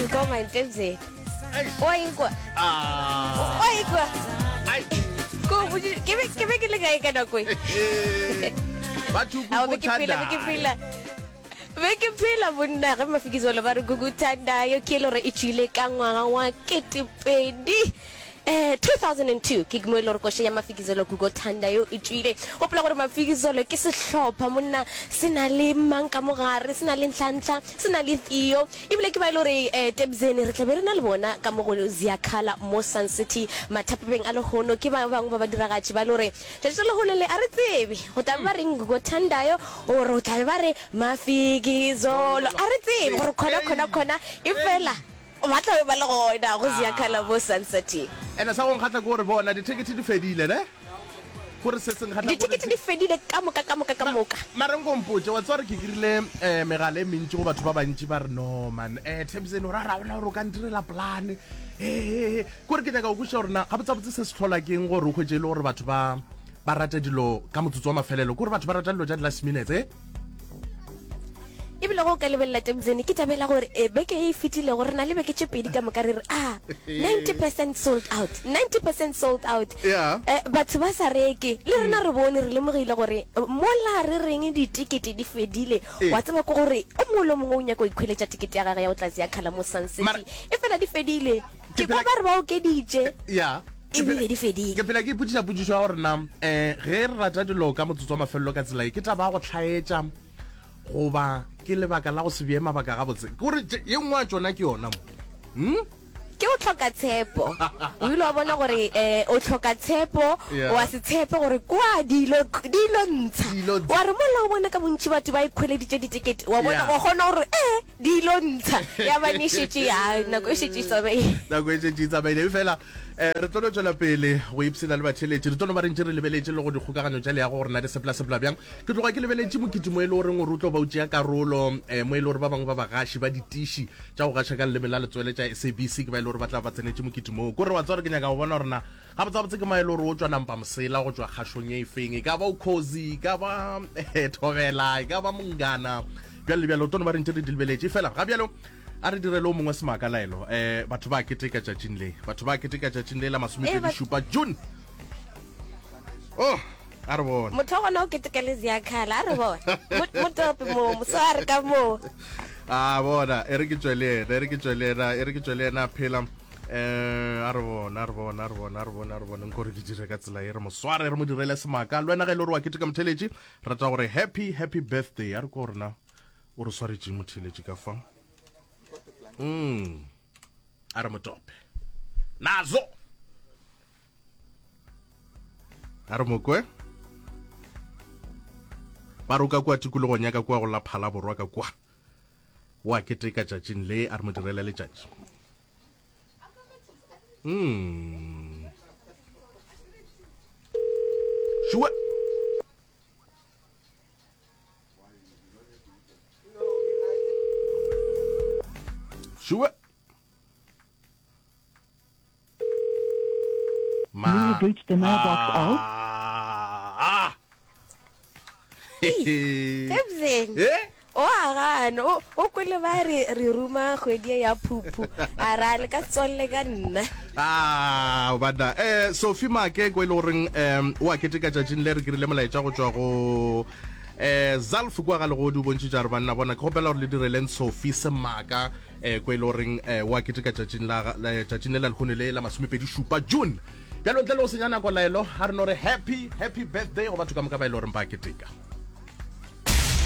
ikwa mantebzeni wa ikwa Ah. wa ikwa Ai. Ko botši- ke be ke be ke le kae ka nako e Batho Ao, be ke phela be ke phela be ke phela monna ge mafikizolo ba re guguthandayo ke e le gore e tšwile ka ngwaga wa ketepedi um 2002 ke mo e le gore koša ya mafikizolo gugo thandayo e tšwile gopola gore mafikizolo ke sehlopha monna se na le mang ka mogare se na le ntlhantlha se na le theo ebile ke ba e le gore um tebzene re tla be re na le bona ka mo go ziakhala mo sun city mathapabeng a lehono ke ba bangwe ba badiragatši ba e le gore tšatši la lehono le a re tsebe go tla be ba reng gugo thandayo gore o tla be ba re mafikizolo a re tsebe gore khona khona khona e fela Ba tla be ba le gona go Ziyakhala mo Sun City. Ene sa go nkgahla ke gore bona dithekethe di fedile ne? Kore se se nkgahla ke gore Dithekethe di fedile ka moka ka moka ka moka. Mara nko mpotše, wa tseba gore ke krile um megala e mentši go batho ba bantši ba re no man um Thabiseni o ra ra gona gore o ka ntirela plan ee kore ke nyaka go kwešiša gore na gabotsabotse se se hlola keng gore o hwetše e le gore batho ba ba rata dilo ka motsotso wa mafelelo kore batho ba rata dilo tša di-last minutes eh? Ebile go ka lebelela Temzene, ke tabela gore e beke e fetilego re na le beke tše pedi ka moka re re ah 90 percent sold out 90 percent sold out Yeah. eh, batho ba sa reke le rena re bone re lemogile gore eh, mola re reng ditekete di fedile Eh. wa tseba ke gore o mongwe le o mongwe o nyaka go ikhweletša tekete ya gage ya go tla Ziakhala mo Sun City Mara- e fela di fedile Ke ke kwa phela- ba re ba okeditše Yeah. Ke ebile phela- di fedile ke phela ke ipotšiša potšišo ya gore na um ge re rata dilo ka motsotso wa mafelelo ka tsela e ke taba ya go hlaetša goba ke lebaka la go se bee mabaka gabotse ke gore ye nngwe ya tšona ke yona mo hmm? ke o hloka tshepo o ile wa bona gore um o hloka tshepo Yeah. wa se tshepe gore kwa dilo dilo ntsha Di ilo ntsha. wa re mola o bona ka bontši batho ba ikhweleditše ditekete wa bona Yeah. wa kgona gore ee di ilo ntsha ya bane e šetše ya nako e šetše e tsamaile nako e šetše e tsamaile fela um re tlo no tšwela pele go ipshina le batheletši re tlo no ba re ntše re lebeletše le go dikgokaganyo tša leago gore na di sepela-sepela bjang ke tloga ke lebeletše mokete mo e le goreng gore o tlo ba o tšea karolo um mo e le gore ba bangwe ba bagaši ba ditiši tša go gaša ka leleme la letswele tša sabc ke ba e le gore ba tla ba tsenetše mokete moo kore wa tseba gore ke nyaka go bona gore na gabotsebotse ke ma e le gore o tšwa nampa mosela go tšwa kgašong e feng e ka ba o khozi e ka ba eh, thobela e ka ba mongana bjalo le bjalo o tlo no ba re ntše re di lebeletše fela ga bjalo A re direle o mongwe semaka laelo. Eh, batho ba keteka tšatšing le. Batho ba keteka tšatšing le la masomepedi šupa June. Oh, a re bone. Motho wa gona o keteka le Ziakhala, a re bone. Motope mo, mosware ka mo. A bona, e re ke tšwe le yena, e re ke tšwe le yena, e re ke tšwe le yena phela. Eh, a re bone, a re bone, a re bone, a re bone, a re bone. Nko re ke dire ka tsela e re mo sware, re mo direle semaka. Le wena ge e le gore wa keteka motheletši, rata gore happy, happy birthday. A re ko rena. O re swaretše motheeletši ka fa. Mm. A re motope. Nazo. A re mokwe. Ba roka kua tikologong ya ka kua go la Phala Borwa ka kua. Wa keteka tšatšing le a re mo direle letšatši. Mm. Sure. Sure. Ma. You have reached the mailbox of. Ah. Tebzeng. Eh? O a gana o o kwele ba re re ruma kgwedi ye ya phuphu a ra le ka tswalle ka nna. Ah, banna. Eh, Sophie Make ko e le goreng um o a keteka tšatšing le re kirile molaetša go tšwa go eh Zalf kwa ga legodi o bontšhitše re banna bona ke gopela gore le direleng Sophie semaka eh ko e le goreng eh o a keteka tšatšing la tšatšing le la lehono le la masomepedi šupa June. Bjalo ntle le go senya nako laelo a re no re happy happy birthday go batho ka moka ba e le goreng ba keteka.